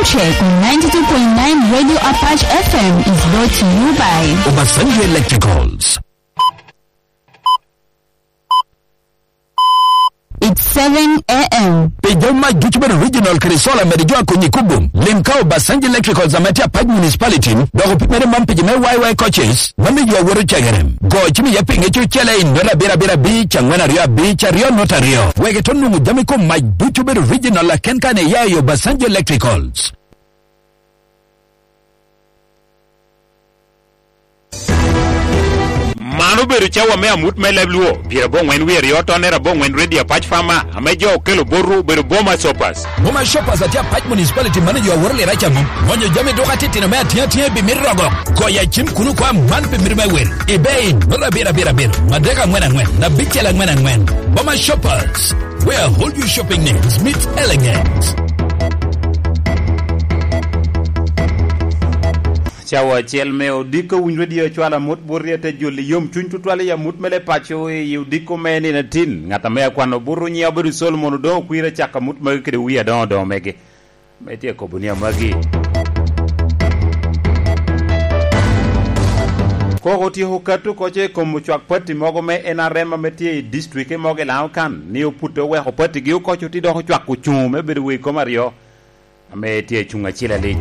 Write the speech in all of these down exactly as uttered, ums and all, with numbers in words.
Check on ninety-two point nine Radio Apache F M is brought to you by Obasanjo Electricals. It's seven a m. Pi jo mac ducu bedo regional kede solar medo jo akonyi kubo. Lim ka Obasanjo Electricals ame tye Apac Municipality, dok opimere man pi jo me Y Y coaches, ma mi jo awoto cegere. Go cim iye pinge cucele i nota abiro abiro abic, angwen aryo abic, aryo nota aryo. Wek ito nwoŋo jami kom mac ducu bedo regional aken kan iya i Obasanjo Electricals. Man obedo cawa me amut me leb Luo, pyerabongwen wie aryo tonere abongwen Radio Apac Farmer, ame jo okelo botwu obedo Boma Shoppers. Boma Shoppers atye Apac Municipality manager aworo lira caŋo. Gonyo jami duka titino me atye atye pi mito rogo. Goyo acim kuno kwa man pi mito me wil. Ebay, nolo abiro abiro abiro, madek angwen angwen, abicel angwen angwen. Boma Shoppers, where all your shopping needs meet elegance. Cawa acel me odiko winy radio cwalo amut bot ryete joli yom cuny tutwal i amut mele paco i odiko me nino atin. Ŋat ame akwano buto nyiya obedo Solomon Odongo Kwir acako amut magi kede wi adoŋo doŋo mege. Me tye kobo ni amagi. Koko otyeko kato koco i kom ocwak pati mogo me N R M ame tye i district mogo i Lango kan, ni opute oweko pati gi okoco ti dok ocwak ocuŋ me bedo wei kom aryo. Ame tye cuŋ acil alic.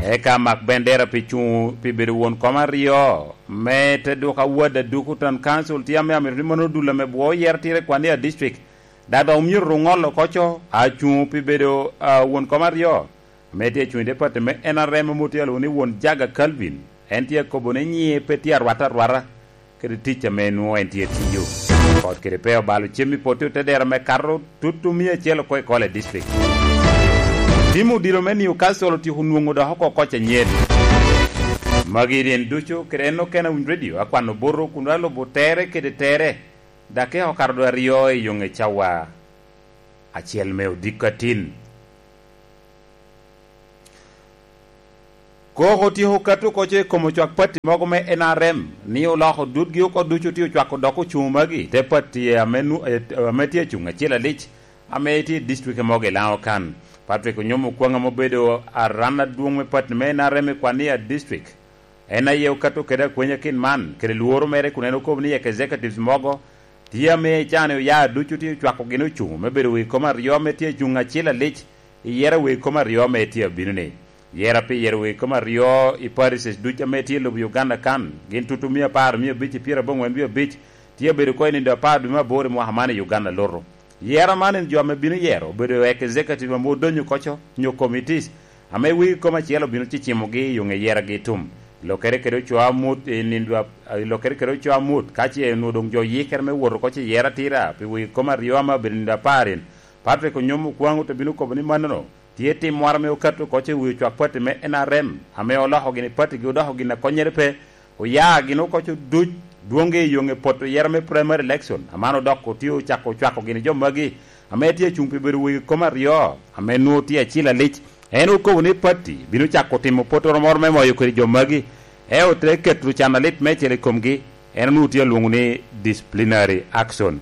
Eka mak bendera pi cuŋ pi bedo won kom aryo, me te duka wad aduku town council tye ame amito ni mano dul ame bwo oyer tire kwan i a district. Dada omyero ŋolo koco, acuŋ pi bedo, ah, won kom aryo. Ame tye cuŋ i department me N R M ame otye alwongo ni won Jaga Calvin. En tye akobo ni nyiŋe pe tye arwata arwata kede tic ame nwoŋo en tye tiyo. Kot kede pe obalo cem i pote otedero me kato tutu mia acel oko i Kole district. Tim odilo me Newcastle otyeko nwoŋo dok oko koc anyen. Magi rin ducu kede en okene Winy Radio akwano boto kun alubo tere kede tere. Dakika okato dwe aryo i yoŋe cawa acel me odiko atin. Koko otyeko kato koco i kom ocwak pati mogo me N R M, ni oloko dutgi oko ducu tye ocwako dok ocuŋ magi, te pati ame nu-, eh, ame tye acuŋ acel alic, ame tye i district mogo i Lango kan. Patrick Onyom Okwaŋ ame obedo aran adwoŋ me pati me N R M i Kwania district, en aye okato kede akwenya kin man, kede lworo mere kun en okobo ni executives mogo tye ame i can oya ducu tye ocwako gin ocuŋ me bedo wegi kom aryo ame tye acuŋ acil alic i yero wegi kom aryo ame tye abino-ni. Yera pi yero wegi kom aryo i parishes ducu ame tye i lobo Uganda kan, gin tutu mia apar, mia abic i pyerabongwen wie abic, tye abedo oko i nindo apar dwe me aboro i mwaka man i Uganda lutu. Yera man en jo ame bino yero obedo executive ame odonyo koco nyo committees ame wegi kom acel obino cicimogi i yoŋe yeragi tum. Lokere kede oco amut i nindo ap-, lokere kede oco amut ka ce onwoŋo doŋ jo yikere me wot oko ce yero atira pi wegi kom aryo ame obedo nindo apar-in. Patrick Onyom Okwaŋ ote bino kobo ni mannono tye tim moro ame okato oko ce wi ocwak pati me N R M ame oloko gini patigi odoko gin a konnyere pe. Oya gin oko co duc dwoŋgi i yoŋe poto yero me primary election, aman odok otye ocako cwako gini jo magi ame tye acuŋ pi bedo wegi kom aryo, ame nwoŋo tye acil alic. En okobo ni pati bino cako timo potoro moro me moyo kede jo magi, en ote keto can alit meicel i komgi, en onwoŋo tye alwoŋo ni disciplinary action.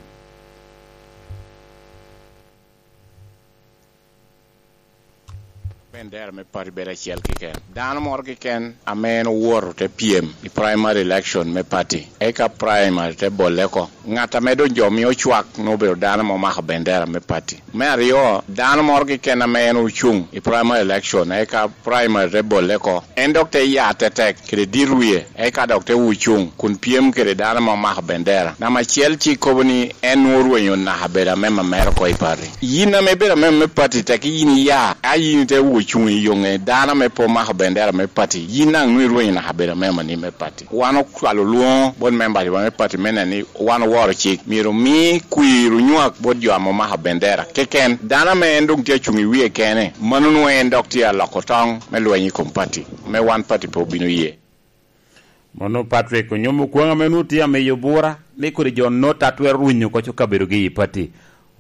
Bendera me pati bedo acel keken. Dano moro keken ame en owoto te pyem i primary election me pati, eka primary te bolle oko. Ŋat ame doŋ jo mio cwak nwoŋo obedo dano ame omako bendera me pati. Me aryo, dano moro keken ame en ocuŋ i primary election, eka primary te bolle oko. En dok te ya tetek kede dit wie, eka dok te wucuŋ kun pyem kede dano ame omako bendera. Namba acel ci kobo ni en nwoŋo orwenyo naka bedo amemba mere oko i pati. Yin ame ibedo amemba me pati, tek yin iya, a yin ite wucuŋ i yoŋe dano ame pe omako bendera me pati, yin daŋ nwoŋo irwenyo naka bedo amemba ni me pati. Wan ocwalo lwoŋo bot members wa me pati me neno ni wan oworo cik, myero omi kwir onywak bot jo ame omako bendera keken. Dano ame en doŋ tye acuŋ i wie kene, mano nwoŋo en dok tye aloko toŋ me lweny i kom pati, me wan pati pe obino ye. Mono Patrick Onyom Okwaŋ ame nwoŋo tye amiyo bura ni kodi jo nota twero runyo koco kabedogi i pati.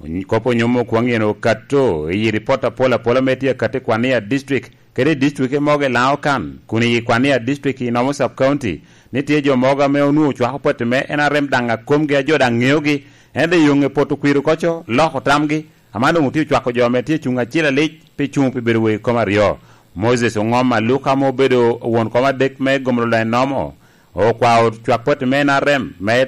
Ony-, kop Onyom Okwaŋ en okato i ripot apol apol ame tye akatti i Kwania District, kede i district mogo i Lango kan, kun i Kwania District i Nomo Sub County, ni tye jo mogo ame onwoŋo cwako pati me N R M daŋ a komgi a jo daŋ ŋeogi, ento i yoŋe poto kwir oko co, loko tamgi, aman doŋ otye ocwako jo ame tye cuŋ acel alic pi cuŋ pi bedo wegi kom aryo. Moses Oŋom Aluka ame obedo won kom adek me gomolo daŋ enomo, okwao cwak pati me N R M me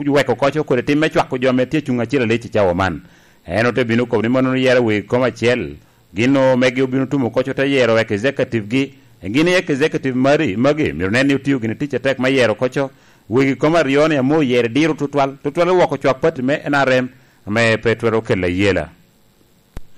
weko koco kodi tim me cwako jo ame tye cuŋ acel alic i cawa man. En ote bino kobo ni mano yero wi kom acel. Gin omegi obino tumo koco te yero wek executive gi. Gin i executive mari, magi myero nen ni otio gini tic atek me yero koco. Wegi kom aryo ni amo oyero diro tutwal, tutwal woko cwak pati me N R M ame pe twero kelo ayela.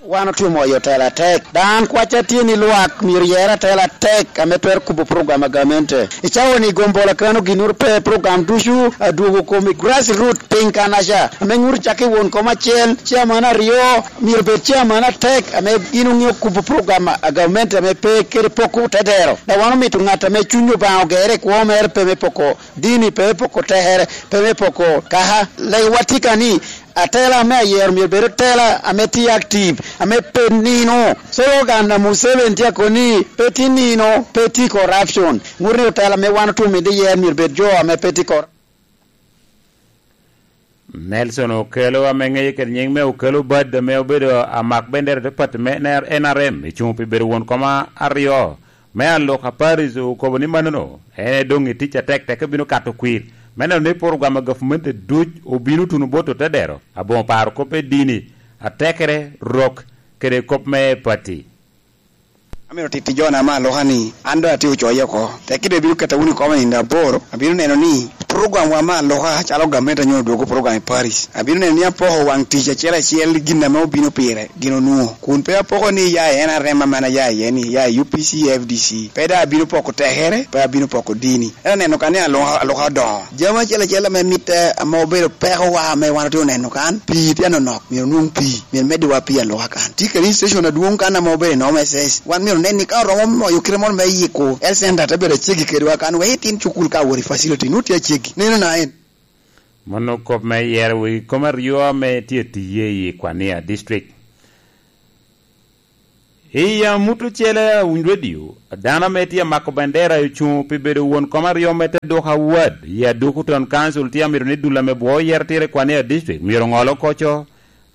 Wan otye moyo tela atek. Dan kwacca tye ni lwak myero yer atela atek ame twero kubo program a gamente. I cawa ni gombola kano ginuru pe program ducu adwogo kom i grassroot piny kanaca. Ame nyuto cak i won kom acel, chairman aryo, myero bed chairman atek ame gin oŋeo kubo program a gamente ame pe kede poko te dero. Da wan omito ŋat ame cuny Obaŋa ogere i kwo mere pe me poko dini, pe me poko tekere, pe me poko kaka. Lewa tika ni, atela ame ayero myero bed atela ame tye active, ame pe nino. Slogan a Museveni tye akoni, pe tye nino, pe tye corruption. Ŋut ni otela ame wan otye omito yer myero bed jo ame pe tye corruption. Nelson Okello ame ŋeye kede nying me Okello Bad ame obedo amak bendera te pati me N R M, ecuŋ pi bedo won koma aryo me Aluka Paris okobo ni manono en doŋ i tic atek tek bino kato kwir me neno ni program a gavumenti duc obino tuno bot otedero aboŋo paro kop me dini, atekere, rok, kede kop me pati. Amito titti jona me Aluka ni an doŋ atye ocoye oko. Tek kede bino keta wunu i koma nindo aboro, abino neno ni program wa me Aluka calo gamente anyo odwogo program i Paris. Abino neno ni apoko waŋ tic acel acel gin ame obino pire. Gin onwoŋo, kun pe apoko ni iya i N R M ame an aya iye ni, iya i U P C, F D C. Pe daŋ abino poko tekere, pe abino poko dini. En aneno ka ni Aluka, Aluka odoŋo. Jami acel acel ame mitte, ame obedo pekowa ame wan otye oneno kan, pii tye anonok, myero onwoŋ pii, myero meddiwa pii Aluka kan. Tye kede station adwoŋ kan ame obedo i N M S S. Wan myero onen ni ka oromo moyo kite moro me yiko health center te bedo aceggi kedwa kan, wek itin cukul ka awot i facility, nwoŋo tye aceggi. Neno na en. Mano kop me yero wi kom aryo ame tye tiye i Kwania District. I amut ocele a Winy Radio, dano ame tye amako bendera ocuŋ pi bedo won kom aryo me te duk awad i Aduku Town Council tye amito ni dul ame bwo yero tire i Kwania District myero oŋolo koco.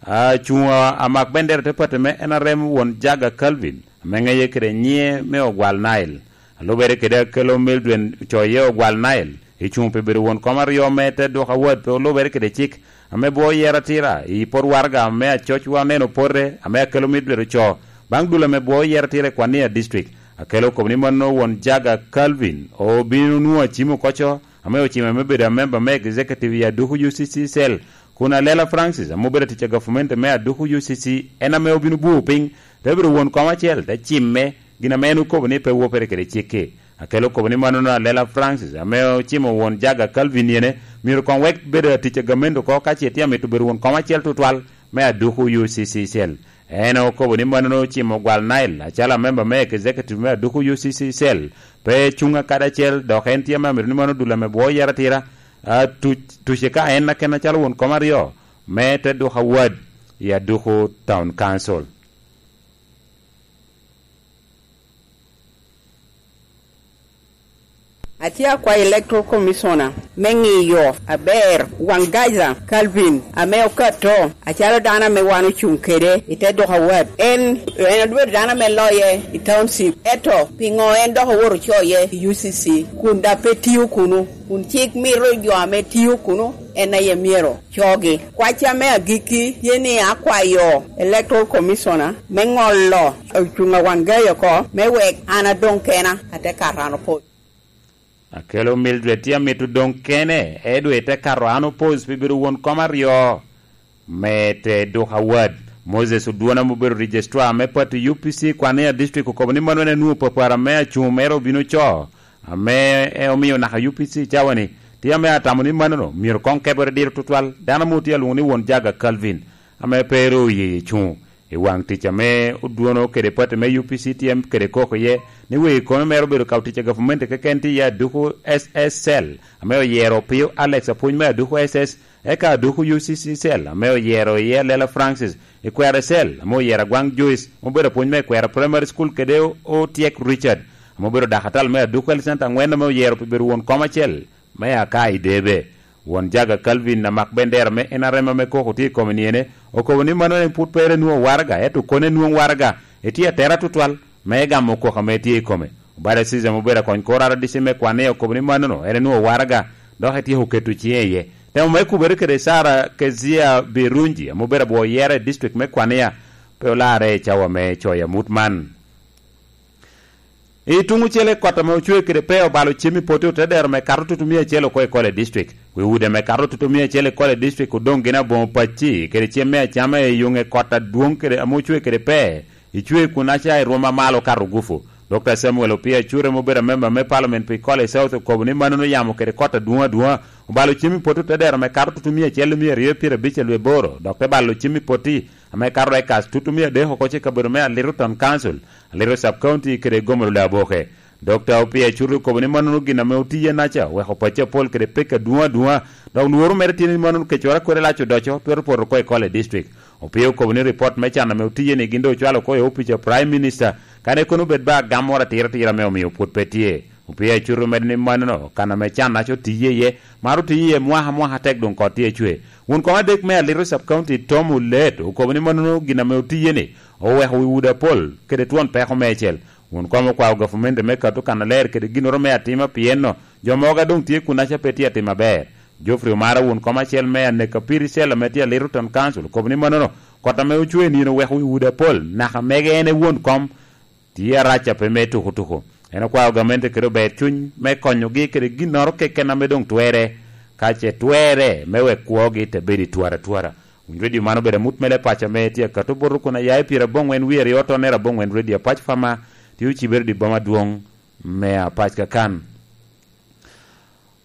Acuŋ a, amak bendera te pati me N R M won Jaga Calvin, ame ŋeye kede nyiŋe me Ogwal Nile. A lubere kede Akello Mildred Coye Ogwal Nile, ecuŋ pi bedo won kom aryo me te duk awad pe olubere kede cik, ame bwo yero atira i pot waraga me acocwa oneno pote, ame Akello Mildred oco, baŋ dul ame bwo yero atira i Kwania District. Akello okobo ni mano won Jaga Calvin obino nwoŋo acim okoco, ame ocime me bedo amemba me executive i Aduku U C C cell, kun Alela Francis, ame obedo atic a gavumenti me Aduku U C C, en ame obino bwoo piny, te bedo won kom acel, te cimme, gin ame en okobo ni pe wopere kede cik-ki. Akello okobo ni manono Alela Francis, ame ocimo won Jaga Calvin yene, myero koŋ wek bedo atic a gamente oko, ka ce tye amito bedo won kom acel tutwal me Aduku U C C cell. En okobo ni manono ocimo Gwal Nile acalo amemba me executive me Aduku U C C cell, pe cuŋ akadi acel, dok en tye ame amito ni mano dul ame bwo yero atira, a, tuc, tuce ka en aken acalo won kom aryo me te duk awad i Aduku Town Council. Atye akwayo Electoral Commissioner me ŋiyo aber waŋ Gaza Calvin ame okato acalo dano ame wan ocuŋ kede i te duk awad. En, en obedo dano ame loye i township, ento piŋo en dok owoto ocoye i U C C kun daŋ pe tio kunu? Kun cik mito jo ame tio kunu en aye myero cogi. Kwacca me agikki tye ni akwayo Electoral Commissioner me ŋolo ocuŋ a Wangei oko me wek an adoŋ kena, ate kato an opol. Akello Mildred tye amito doŋ kene, Edward te kato an opol pi bedo won kom aryo. Me te duk awad, Moses Odwona ame obedo Registrar me Party U P C i Kwania District okobo ni mano en enwoŋo papara me acuŋ mere obino co, ame en omio naka U P C i cawa-ni tye ame atamo ni manono myero koŋ kebere diro tutwal. Dano amo tye alwoŋo ni Won Jaga Calvin, ame pe ru oye cuŋ i waŋ tic ame Odwona kede party me U P C tye kede koko iye, ni wegi kono mere obedo ka tic a gavumenti keken tye iye Aduku S S cell, ame oyero Opio Alex apwony me Aduku S S, eka Aduku U C C cell, ame oyero iye Alela Francis, Ikwero Ecel, ame oyero Agwaŋ Joyce, ame obedo apwony me Ikwero Primary School, kede O-, Otyek Richard, ame obedo dakatala me Aduku Health Center aŋwen, ame oyero pi bedo won kom acel me Akai Debe. Won Jaga Calvin, amak bendera me N R M ame koko tye i kome niene, okobo ni mano en pwod pe ere nwoŋo waraga, ento kone nwoŋo waraga, etye atera tutwal. me gamo kwok ame tye i kome. Obada Caesar ame obedo akony kor R D C me Kwania okobo ni mannono en enwoŋo waraga, dok etyeko keto ciŋe iye. Temo me kubere kede Sara Kezia Birungi ame obedo abwor yera i district me Kwania pe olarre i cawa me coyo amut man. I tuŋ ocele, kot ame ocwe kede pe obalo cem i poti otedero me kato tutumia acel oko i Kole District. Wi udi ame kato tutumia acel i Kole District odoŋ gin aboŋo pacci kede cem me acama i yuŋe kot adwoŋ kede ame ocwe kede pe. Icwe kun aca i rwom amalo kato gufu. Dokta Samuel Opia Cure ame obedo amemba me Parliament pi Kole South okobo ni mannono yamo kede kot adwoŋ adwoŋa obalo cem i poti otedero me kato tutumia acel mia aryo pyerabic alwe aboro, dok te balo cem i poti ame kato acres tutumia adek oko i kabedo me Alito Town Council, Alito Sub County kede Gomolo Laboke. Dokta Opia Curi okobo ni mannono gin ame otiye naca oweko pacci apol kede pek adwoŋ adwoŋa, dok lworo mere tye ni mannono kecwara kodi lac odoco twero poto oko i Kole District. Opia okobo ni ripot me can ame otiye ni gin doŋ ocwalo oko i opic a Prime Minister, kadi kono bed ba gam moro atira atira ame omio pwod pe tye. Opia Curi omedo ni mannono kan ame can naca otiye iye, maro tiye iye mwaka mwaka tek doŋ kot tye acwe. Won kom adek me Alito Sub County Tom Olet okobo ni mannono gin ame otiye ni oweko wi udi apol kede twon peko meicel. Wun kom okwao gavumenti me kato kannaler kede ginnoro me atima, pien jo mogo a doŋ tye kunnaca pe tye atim aber. Geoffrey Omara, wun kom acel me Aneka Piri Cell ame tye Alito Town Council, okobo ni mannono kot ame ocwe nino oweko wi udi apol, naka mege en e won kom, tye arac a pe me tuko tuko. En okwao gamente kede ober cuny me konyogi kede ginnoro keken ame doŋ twerre, ka ce twerre me wek kwogi te bedo i twara twara. Winy redio man obedo amut mele paco ame tye akato boto kun aya i pyera aboŋwen wie aryo tonnere aboŋwen redio apac fama tye ocibere i boma adwoŋ me apac kakan.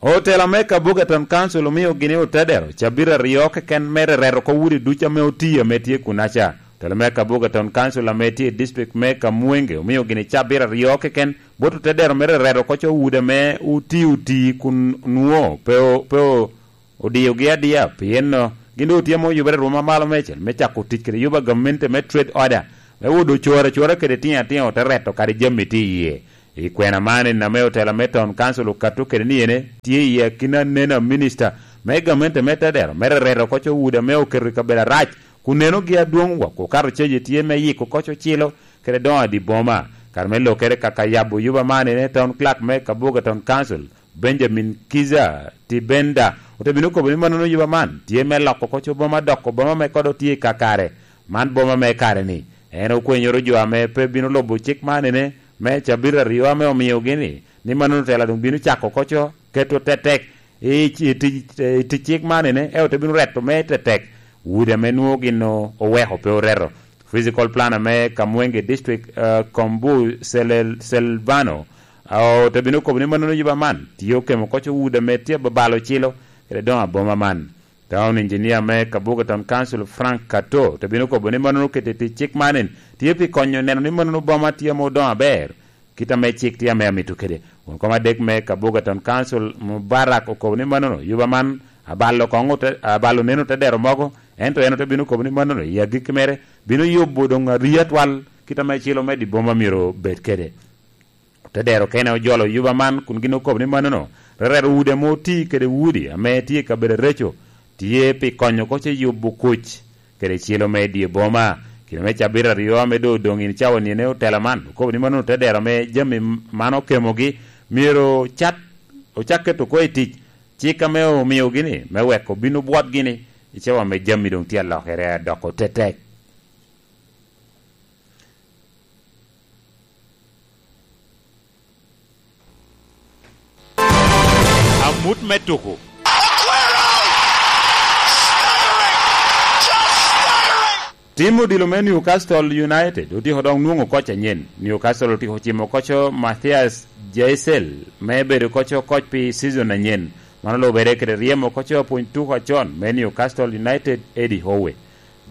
Otela me Kabuga Town Council omio gini otedero cabit aryo keken me rereto oko udi ducu ame otiyo ame tye kunaca. Otela me Kabuga Town Council ame tye i district me Kamwenge omio gini cabit aryo keken bot otedero me rereto oko co udi ame oti oti kun nwo pe o-, pe o-, odiogi adia, pien gin doŋ otye ame oyubere i rwom amalo meicel me cako tic kede yuba gamente me trade order, me wodo coro acora kede tino atino te reto kadi jami tye iye. I kwena man en ame otela me Town Council okato kede ni ene tye i akina anena minista me gamente me tedero me rereto oko co udi ame oketo i kabedo arac, kun nenogi adwoŋ wok okato caje tye me yiko oko co cilo kede doŋo adi boma. Kare me lokere kaka yabo yuba man ene Town Clerk me Kabuga Town Council, Benjamin Kiza Tibenda, ote bino kobo ni mannono yuba man tye me loko oko co boma doko boma me kodo tye i kakare. Man boma me kare ni, en okwenyoro jo ame pe bino lubo cik man ene me cabit aryo ame omiogi ni, ni mannono tela doŋ bino cako oko co keto tetek i, i, tic, i tic cik man ene, ento te bino reto me tetek udi ame nwoŋo gin o-, oweko pe oreto. Physical planner me Kamwenge District, eh, Kombu Selel-, Selvano, ah, ote bino kobo ni mannono yuba man tye okemo oko co udi ame tye ababalo cilo kede doŋo aboma man. Town engineer me Kabuga Town Council Frank Kato te bino kobo ni mannono kete tic cik man en tye pi konyo neno ni mannono boma tye ame odoŋo aber, kit ame cik tye ame amito kede. Won kom adek me Kabuga Town Council Mubarak okobo ni mannono yuba man abalo koŋ ote-, abalo neno te dero mogo, ento en ote bino kobo ni mannono i agikki mere bino yubo doŋ arii atwal, kit ame cilo me di boma myero bed kede. Te dero okene ojolo yuba man kun gin okobo ni mannono, rerero udi ame oti kede udi ame tye i kabedo areco tye pi konyo oko ce yubo kuc kede cilo me dye boma. Kine me cabit aryo ame doŋ odoŋ i cawa nine otela man, okobo ni mannono te dero ame jami man okemogi myero cat, ocak keto oko i tic cik ame omiogi ni me weko bino bwotgi ni i cawa ame jami doŋ tye alokere adoko tetek. Amut me tuko. Tim odilo me Newcastle United otyeko dok nwoŋo koc anyen. Newcastle otyeko cimo koco Matthias Jaisel me bedo koco koc pi season anyen. Man olubere kede ryemo koco apwony tuko acon me Newcastle United, Eddie Howe.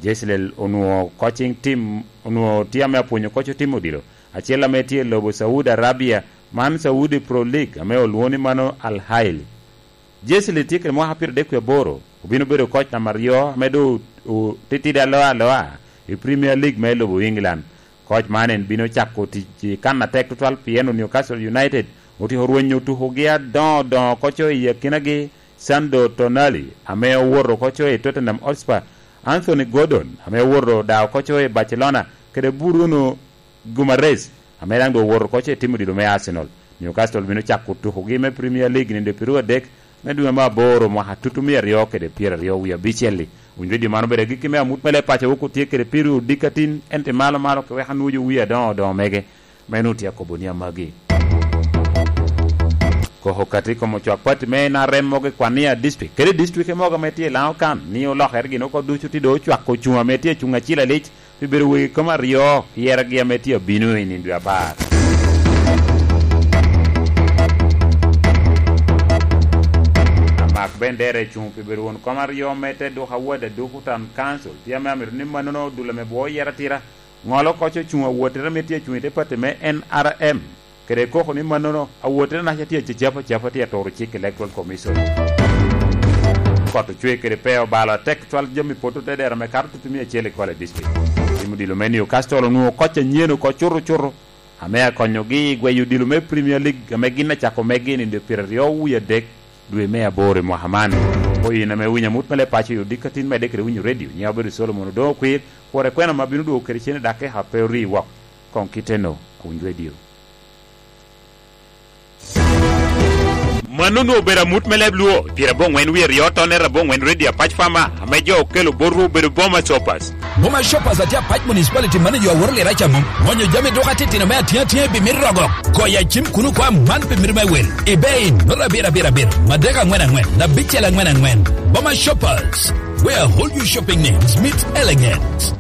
Jezreel onwoŋo coaching team, onwoŋo tye ame apwonyo koc otim odilo. Acel ame tye i lobo Saudi Arabia, man Saudi Pro League, ame olwoŋo ni mano Al Ahly. Jezreel tye kede mwaka pyeradek wie aboro, obino bedo koc namba aryo ame doŋ o-, otitidi aloa aloa i Premier League me lobo England. Koc man en bino cako tic i kan atek tutwal pien Newcastle United otyeko rwenyo tukogi adoŋo doŋo koco i akinagi Sandro Tonali ame owoto koco i Tottenham Hotspur, Anthony Gordon ame owoto daŋ koco i Barcelona, kede Bruno Guimaraes ame daŋ doŋ owoto oko ce timo odilo me Arsenal. Newcastle bino cako tukogi me Premier League nino pyeraryo adek me dwe me aboro mwaka tutumia aryo kede pyeraryo wie abicel-li. Winy redio man obedo agikki me amut me leb paco wok otye kede piro odikatin, ento malo malo ke wek anwojo wie adoŋo adoŋo mege. Meno otye akobo ni amagi. Koko kati kom ocwak pati me N R M mogo i Kwania District, kede district mogo ame tye i Lango kan, ni olokere gin oko ducu ti doŋ ocwako ocuŋ ame tye acuŋ acil alic, pi bedo wegi kom aryo, yeregi ame tye abino i nino dwe apar. Amak bendera ecuŋ pi bedo won kom aryo me te duka wad aduku Town Council, pi ame amito ni mannono odulo me bwo yera tira. Ŋolo koc ocuŋ awottere ame tye acuŋ i te pati me N R M, kede koko ni mannono, awottere naca tye acecap acapa tye aturo cik Electoral Commission. Kot ocwe kede pe obalo atek cwal jami poto te dero me kato tutumia acel i Kwale District. Tim odilo me Newcastle onwoŋo koc anyen oko cuto cuto, ame akonyogi i gweyo odilo me Premier League ame gin acako megi i nino pyeraryo wie adek dwe me aboro i mwaka man. Oyin ame winyo amut me leb paco i odikatin medde kede winyo redio, nyiŋa obedo Solomon Odoŋo Okwir, kwor ekwena ma bino dwogo kede cene dakika pe ori wok. Koŋ kiteno, awiny redio. Mano onwoŋo obedo amut me leb Luo, pyerabongwen wie aryo tonne rabongwen redio Apac Fama, ame jo okelo botwu obedo Boma Shoppers. Boma Shoppers atye Apac Municipality manager aworo lira ca mom. Ŋonyo jami duka titino me atyea atyea i pi mit rogo. Goyo acim kuno kwa man pi mit me wel. I bei, nota abiro abiro abiro, madek angwen angwen, abicel angwen angwen. Boma Shoppers, where all your shopping needs meet elegance.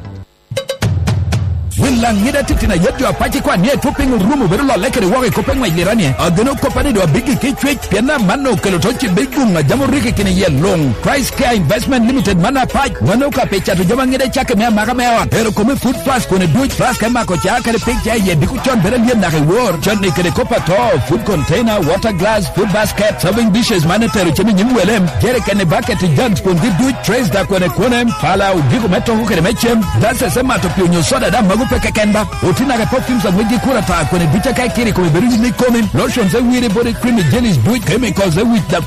Wil laŋ ŋida titino ayet jo Apac i kwan ni etwo piny orumo bedo lolle kede woko i kop eŋwec lira ni, ageno kop a ni doŋ abiggi ki cwec, pien amanno okelo to cibbe guŋ a jam orikki kine yie luŋ. Price Care Investment Limited man Apac, mano ka pe cato jami aŋida cakke me amaka me ot, ero kome food plus kone duc, plus ka imako ca kede pig ca iye diko con bedo alyet naka i wor, con ni kede kop ato, food container, water glass, food basket, serving dishes man etero cem i nyim wele, jerikeni, bucket, jugs, kwongi duc, trays da kwene kwone, pala, ogiko me toko kede me cem, glasses me mato pii onyo soda da mago pe keken ba, otinake perfumes a ŋwecgi kur ata kwene duc aka ikiro i kome bedo yim i komi, lotions e wiri, body cream, jellies duc, chemicals e wic da